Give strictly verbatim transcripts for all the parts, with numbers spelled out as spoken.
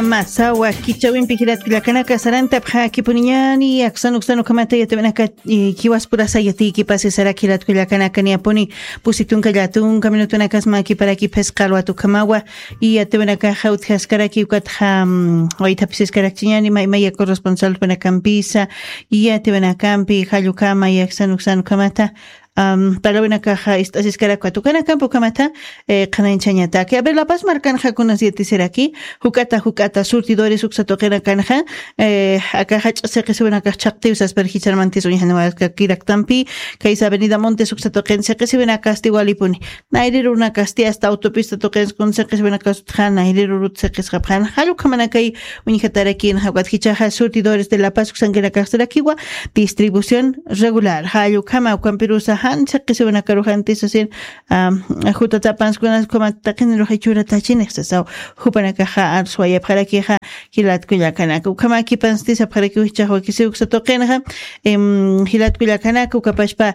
Masawa kichawimpi jilatkullakanaka sarantapxakipuniñani aksanuksanukhamata yatiwanaka, kiwaspurasa yatiykipasi sarak jilatkullakanaka niyapuni, pusitunka llatunka minutunakasma kiparaki phisqa alwatukhamawa. Yatiwanakaxa utjaskaraki ukatxa waythapisiskarakchiñani maymaya corresponsalkunakampisa. Yatiwanakampi jallukama yaksanuksanukhamata, palawinakaxa ist'asiskarakwa tukanakampi ukhamata. Qhanañchañataki aver lapas markanxa kunas yatisiraki, juk'ata juk'ata surtidores uksa tuqinakanxa, aka jach'a siqisiwinakax chhaqtiw saspar jicharmantis uñjaniwaskakiraktampi, kaysa avenida montes uksa tuqin siqisiwinakasti walipuni. Nayrirunakasti asta autopista tuqinskun siqisiwinakas utxan nayrirurut siqisqapxan jallukhamanakay. Uñjatarakinxa ukat jichaxa surtidores de la paz uksankinakaxsirakiwa, distribución regular jallukhama ukampirusa jan siqisiwinakaruxantisasin. Jutatapanskunas ukhamat taqinirux ichuratachinix sasaw. Jupanakaxa arswayapxarakixa jilatkullakanaka ukhamakipansti sapxarakiw jichax wakisiw uksa tuqinxa. Jilatkullakanaka ukapashpa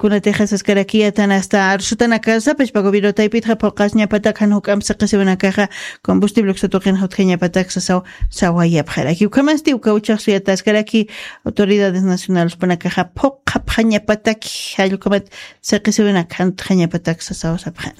kunatixa saskarakiyatan asta arsutanakasa pashpa gobierno taypitxa phuqasñapatak jan juk'amp siqisiwinakaxa, combustible uksa tuqinxa utjañapatak sasaw. Sawayapxaraki ukhamasti uka uchax suyataskaraki autoridades nacionales panakaxa phuqhapxañapataki jallukhamat siqisiwinak jan utjañapatak sasaw sapxana.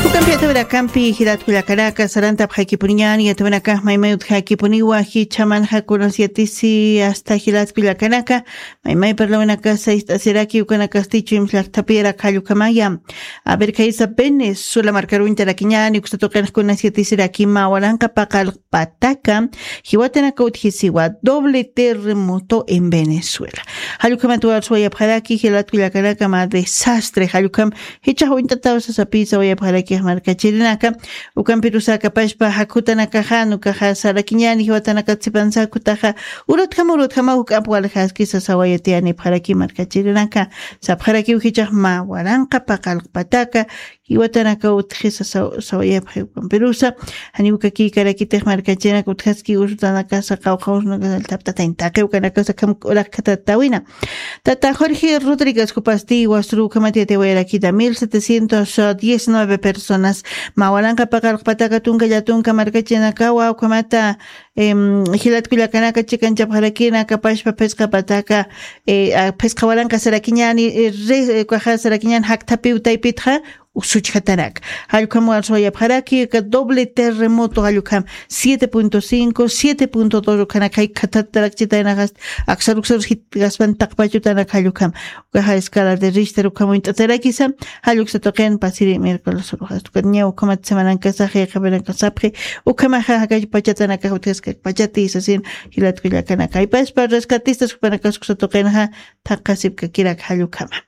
Ukampi yatawirakampi jilatkullakanaka sarantapxakipuniñani yatawinakax maymay utjakipuniwa jichamanxa kunas yatisi asta jilatkullakanaka. Maymay parlawinakasa ist'asiraki ukanakastichu imslaktapirak jallukhamaya. Aver kaysa venezuela markaruñtarakiñani uksa tuqinxkunas yatisiraki mawaranqa paqal pataka jiwatanaka utjisiwa doble terremoto en venezuela. Jallukhamat warswayapxaraki jilatkullakanaka ma desastre jallukham. Jichax uñt'ataw sasapisa wayapxarakix markachirinaka. Ukampirusakapashpa jakhutanakaxan ukaxa sarakiñani jiwatanaka tsipansakutaxa, urutjama urutjama juk'amp waljaski sasawayatiyanipxaraki markachirinaka. Sapxarakiw jichax ma waranqa paqalqpataka jiwatanaka utjisa sawayapxi ukampirusa. Janiw kakiykarakitix markachirinaka utjaski usutanakasa qawqha usunakasa althaptatañ taqi ukanakasa kham urakkhatatawina. Tata jorge rodriguez jupasti wasru ukhamata yatiwayarakita mil setecientos diecinueve personas, mawaranqa paqalqpataka tunka llatunka markachinakawa ukhamata jilatkullakanaka chikanchapxarakina kapashpa phisqa pataka phisqa waranqa sarakiñani, kaxa sarakiñani jakthapiw taypitxa. Usuchjatanaka jallukhamwa arswayapxaraki ka doble terremoto jallukham, siete punto cinco siete punto dos ukhanakay khatatarakchitaynaxast. Aksaruksarus jitgaspan taqpachutanak jallukham. Ukaxa escala de richter ukham uñt'atarakisa. Jalluksa tuqin pasiri miércoles uruxastukan ñaw ukhamat semanankasaxi qhipanakasapxi. Ukhamaxa jakay pachatanakax utjaskak pachati sasin. Jilatkullakanaka aypaspa rescatistas jupanakas uksa tuqinxa. Thaqhasipkakirak jallukhama.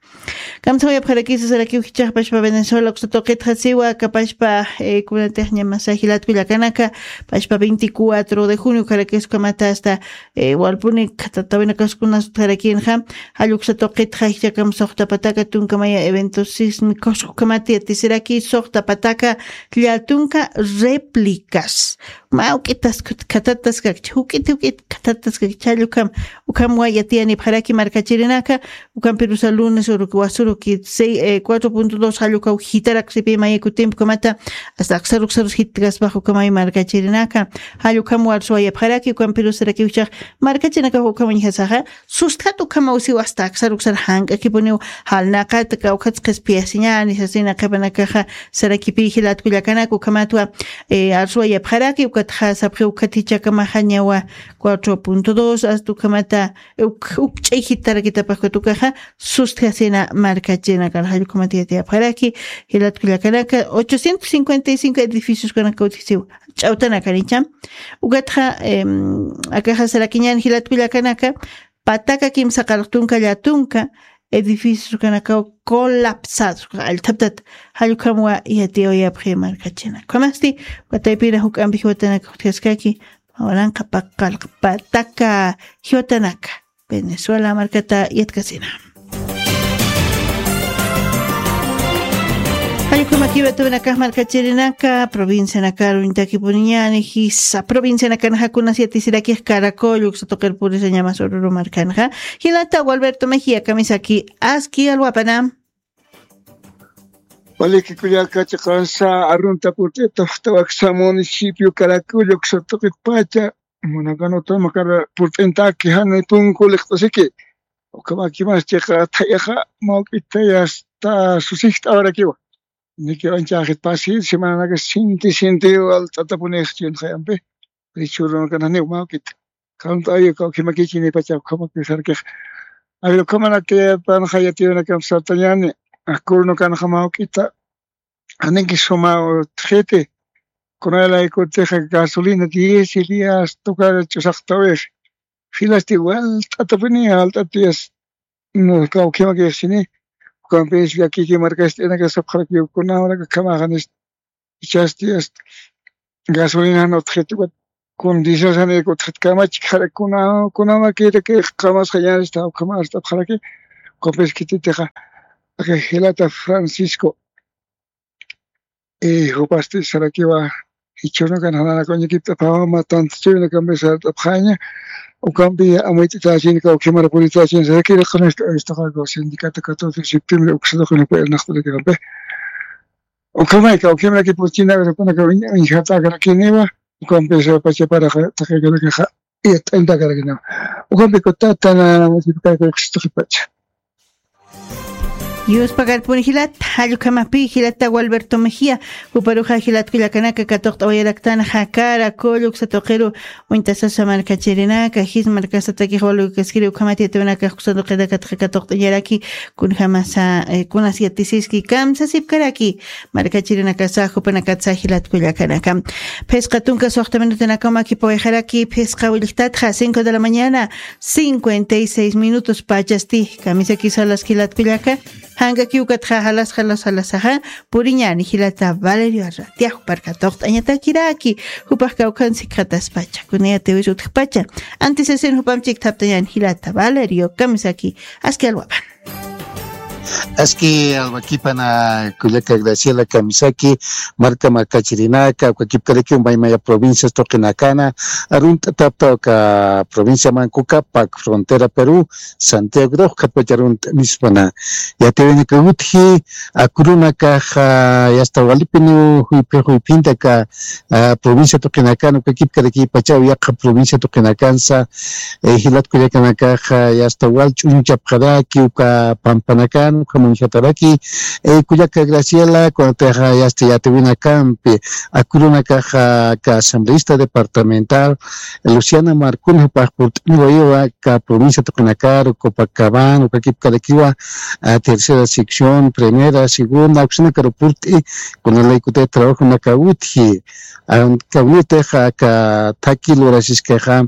Kamsawayapxarakisa sarakiw jichaxpashpa venezuela uksa tuqitxasiwa kapashpa kunatixñamasa jilatkullakanaka. Pashpa veinticuatro de junio ukharakis ukhamata asta walpuni khatatawinakaskunas utjarakinxa. Jalluksa tuqitxa jichakam suxtapataka tunkamaya eventos sísmicos ukhamata yatisiraki suxtapataka llatunka réplicas. Mä juk'itas khatatas kakcha juk'it juk'it khatatas kakcha jallukam. Ukham wayatiyanipxaraki markachirinaka. Ukampirusa lunes uruki wasuruki cuatro punto dos jallukaw jitarak sipi mayakutimpkamata. Asta aksaruksarus jitgaspax ukamay markachirinaka. Jallukham warsuwayapxaraki ukampirusarakiwchax markachirinakax ukhamañjasaxa. Sustjat ukhamaw siw asta aksar uksar jank'akipuniw. Jalnaqat kawkhatsa qhispiyasiñani sasina qhipanakaxa. Sarakipi jilatkullakanaka ukhamatwa arsuwayapxaraki ukatxa sapxi ukhatichakamaxa ñawa. Cuatro punto dos asta ukhamata ukch'ay jitarakitapaxkatukaxa. Sustjasina markachinakan jallukhamata yatiyapxaraki. Jilatkullakanaka ochocientos cincuenta y cinco edificioskanaka utjisiw. Ch'awtanakanicha ukatxa akaxa sarakiñan jilatkullakanaka. Pataka kimsa qalqtunka llatunka edificios kanakaw colapsados allthaptat. Jallukhamwa yatiyawayapxi markachina ukhamasti. Wataypina juk'ampi jiwatanaka utjaskaki. Mawaranqa paqalqpataka jiwatanaka. Venezuela markata yatkasina. Jallukama Kiwatuwinakax markachirinaka, provincianakar uñtakipuniñäni, jisa provincianakanxa kunas yatisiraki Caracol uksa tuqir purisañamas Oruro markanxa. Jilata Gualberto Mejía, kamisaki, aski alwapana. Waliki kullaka chiqansa arunta purt'ita, tawaksa municipio Caracol uksa tuqit pacha, munakanu tamakara purt'intaki jani punku liqt'asiki. Ukhamaki mas chiqa thayaxa mawk'ita yasta susijt'awarakiwa. Niki ancha ajit pasi, semananaka sinti, sinti, walt'atapunix chinxayampi. Richurunakana niw mawk'ita. Kawnt'ayu, kawkhimakichi nipacha ukhamaki sarkix. Awi ukhamanaki panxa yatiyunakam sartañani. Akurunakanaxa mawk'ita. Aniki suma utjiti. Kunalaykutixa gasolina diez días tukar ch'usaqtawix. Filasti walt'atapuni, walt'atiyas. No, kawkhimakixsini. Ukampis llakiki markast'inaka sapxarakiw kunawraka khamaxanist. Ichasti asta gasolina utjit ukat condiciones utjit kamachkxara kuna, kunamakiraki qamasxañanista ukhamart'apxaraki. Ukampis khititixa aka jilata Francisco. Y jupasti sarakiwa, jichhürunakan jananaka uñakipt'apawa, mä tantichuyunakampi sart'apxaña, ukampi amuyt'itachin, kawkhimara puritächin sarakiri, qhanasta aystaqa sindicato catorce de septiembre uksa tuqinakpa irnaqt'arakirampi. Ukhamay kawkhimaraki purchina, ukunaka uñjatakaraki niwa, ukampi sapachaparaqa taqikarakxa. Iyat'añtakarakinaw. Ukampi kutatana wasipukaykuykusistuqipacha. Yuspakarpuni jilata, jallukamapi jilata Gualberto Mejía, juparuxa jilat kullakanaka katuqt'awayaraktana jakara, kullu uksa tuqiru, uñtasasa markachirinaka, jis markasatakix walukaskiri, ukhamat yatiwinaka uksa tuqinakatxa katuqt'añaraki, kunjamasa, eh, kunas yatisiski, kamsasipkaraki, markachirinakasa, jupanakatsa jilat kullakanaka. Phisqa tunka suxta minutanakaw makipawayxaraki, phisqa willjtatxa, cinco de la mañana, cincuenta y seis minutos pachasti, kamisaki salas jilat kullaka, jankakiw ukatxa jalas, jalas, jalasaxa, puriñäni jilata Valerio Arratia, juparka tuqt'añatakiraki, jupax kawkhansi khataspacha, kunayatiwis utjpacha, antes esin jupam chikt'aptañäni jilata Valerio, kamisaki, aski alwapan. Aski alwakipana kullaka Graciela, kamisaki, marka markachirinaka, ukakipkaraki umaymaya provincias tuqinakana, arunt'atapta uka provincia Mancocapac, frontera Perú, Santiago, ukatpacha arunt'anispana. Yatiwinaka utji, akurunakaxa, yasta walipiniw juyphi, juyphintaka, ah, provincia tuqinakana, ukakipkaraki pachaw yaqha provincia tuqinakansa, eh, jilat kullakanakaxa, yasta wal ch'uñchapxaraki, uka pampanakan, uka muñjataraki, eh, kullaka Graciela, kunatixa, yasta yatiwinakampi, akurunakaxa, ka asambleísta departamental, Luciana Marcuna, jupax purt'aniwayiwa, ka provincia tuqinakaru, Copacabana, ukakipkarakiwa, ah, tercera sección, primera, segunda, uksanakaru purt'i, kunalaykutay trabajonaka utji, ah, kawnitixa aka thaki lurasiskaxa,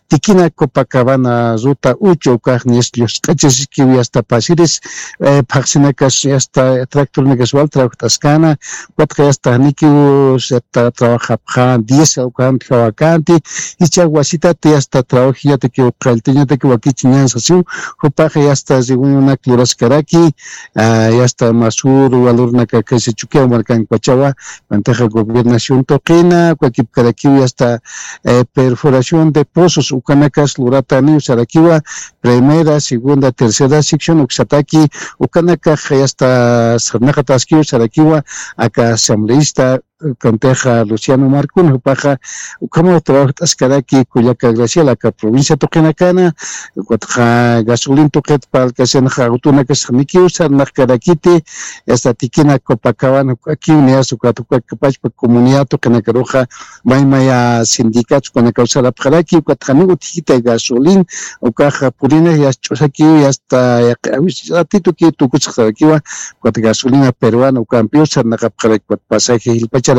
Tikina Copacabana ruta uchu ukax nies llusq'achasiskiw yasta pasiris, eh, phaxsinakas yasta tractornakas wal trabajt'askana, ukatxa yasta janikiw yasta trabajapxa diez ukanti, jawakanti, jichha wasitati yasta trabajiñatakiw qalltiñatakiw wakichiñan sasiw, jupaxa yasta reunionak luraskaraki, ah, yasta masur, valornaka kaysa Chukiyaw markankapachawa, mantaxa gobernación tuqina, ukakipkarakiw yasta, eh, perforación de pozos, ukanakas lurataniw sarakiwa, primera, segunda, tercera sección, uksataki, ukanakax yasta sarnaqataskiw sarakiwa, aka asambleísta, kantixa Luciano Marcuna, jupaxa, ukhamaw trabajt'askaraki kullaka Graciela, aka provincia tuqinakana, ukatxa gasolin tuqit parlkasinxa, autonakas janikiw sarnaqkarakiti, yasta Tikina Copacabana, ukakiw niyas, ukat ukakipachpa comunidad tuqinakaruxa, maymaya sindicatos ukanakaw sarapxaraki, ukat janiw utjikita gasolin, ukaxa purina yas ch'usakiw, yasta yaqi, awis, ratitukiw tukusxarakiwa, ukat gasolina peruana, ukampiw sarnaqapxaraki, ukat pasaje jilpacharakiw,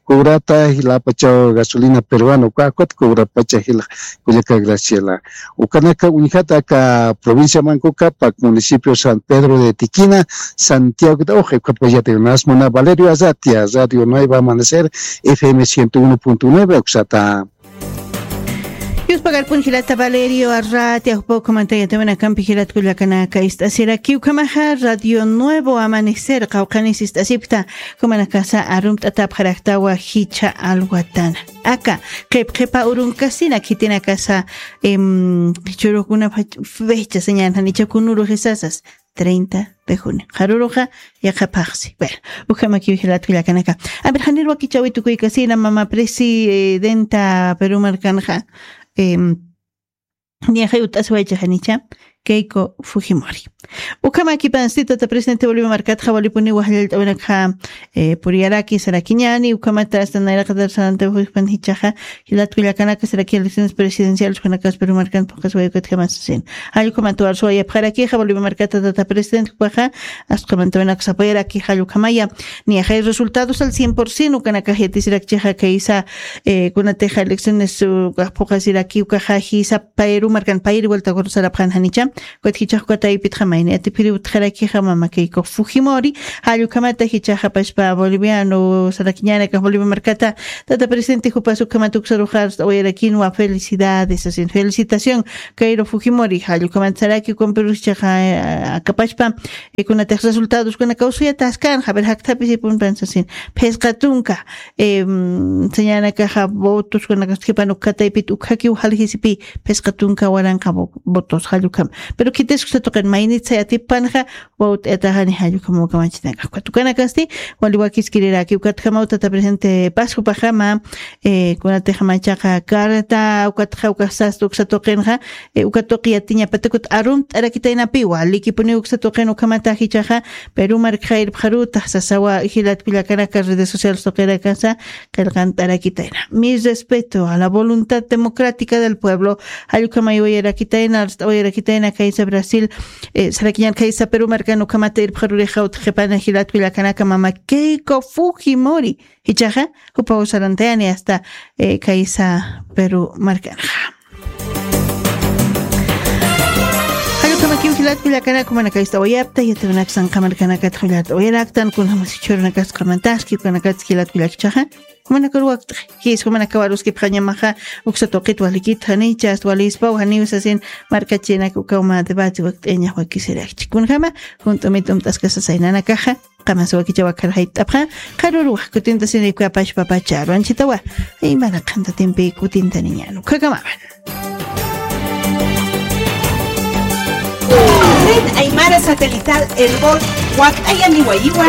cobrata, jilapachaw gasolina peruana, uka, ukat cobrapacha jila, kullaka Graciela. Ukanaka uñjata aka provincia Mancocapac, municipio San Pedro de Tiquina, Santiago de Oje, ukapayata unas muna Valerio Azatia, Radio Nueva Amanecer, F M ciento uno punto nueve, uksata. Pagarpun jilata Valerio Arratia, jupa ukhamanta yatawinakampi jilat kullakanaka ist'asirakiw ukhamaxa Radio Nuevo Amanecer qawqhanis ist'asipkta, ukhamanakasa arumt'atapxaraktawa jichha alwatana. Aka, qhip qhipa urunkasina khitinakasa, em, churukuna fach-, fecha señal janicha kunuru jisasas, treinta de junio. Qaruruxa, yaqapaxsi. Bueno, ukhamakiw jilat kullakanaka. A ver, janir wakichäwi tukuykasina mama presidenta Perú markanxa, em, niyaxay ut'asiwaycha janicha, Keiko Fujimori. Ukhamakipansti tata presidente Bolivia markatxa walipuni wajllallt'awinakxa, eh, puriyaraki sarakiñani, ukhamata asta nayraqatar sarantawixpan jichhaxa, jilat kullakanaka saraki elecciones presidenciales ukanakas Perú markan phuqhasiway ukatjamasasin. Jall ukhamata warsuwayapxarakixa Bolivia markata tata presidente jupaxa, asta ukhamata winak sapayaraki jall ukhamaya. Niyaxay resultados al cien por ciento ukanakax yatisirakchixa kaysa, eh, kunatixa elecciones, uh, phuqhasiraki ukaxa jisa Perú markan payri vuelta sarapxan janicha, ukat jichhax uka taypitxa mayni atipiri utjarakixa mama Keiko Fujimori, jall ukhamata jichhaxa pachpa boliviano sarakiñanakax Bolivia markata, tata presidente jupas ukhamata uksaruxa arst'awayarakinwa felicidades, asin felicitación, Keiko Fujimori, jall ukhamata saraki ukampirusa jichhaxa, eh, akapachpa, eh, kunatix resultados kunakaw suyataskänxa, a ver, jakthapisipunpan sasin, phisqa tunka, em, señanakaxa votos kunakax khipan uka taypit ukhakiw jaljisipi, phisqa tunka waranqa vo-, votos jall ukham. Pero khitis uksa tuqin maynit sayatipanxa, wawt'ayataxani jall ukham ukamachinakax. Ukat ukanakasti, wali wakiskiriraki, ukat ukhamaw tata presidente Pascupaxama, eh, kunatixama ichaqa carta, ukatxa ukax sasta uksa tuqinxa, eh, uka tuqi yatiñapatakut arumt'arakitaynapi, walikipuni uksa tuqin ukhamata jichhaxa, Perú markxa irpxarutax sasawa jilat kullakanaka redes sociales tuqirakasa, qillqant'arakitayna. Mi respeto a la voluntad democrática del pueblo. Jall ukhamayawayarakitayna, arst'awayarakitayna kaysa Brasil, eh, sarakiñan kaysa Perú markan ukhamata irpxarurixa utjqipana jilat kullakanaka mama Keiko Fujimori. Jichhaxa, jupaw sarantayani asta, eh, kaysa Perú markanxa. Jall ukhamakiw jilat kullakanaka, ukhamanak ist'awayapta, yatawinaksa qamarakanakatxa ist'awayaraktan, kunjamas jichhürunakas qamataski, ukanakatsa jilat kullakchaxa. Ukhamanak wakt'xi, jis, ukhamanak waruskipxañamaxa, uksa tuqit walikit janicha, asta walispaw janiw sasin, markachinak ukaw mä debate wakt'ayañax wakisirakchi. Kunjama, junt'umit umt'askasa saynanakaxa, qamas wakichaw akharjayt'apxa, qharüruw kutintasini uka pachpa pacharu, anchhitawa, imaraqhantatimpi kutintaniñäni, ukhakamama. Red Aymara Satelital Erbol, wakt'ayaniwayiwa,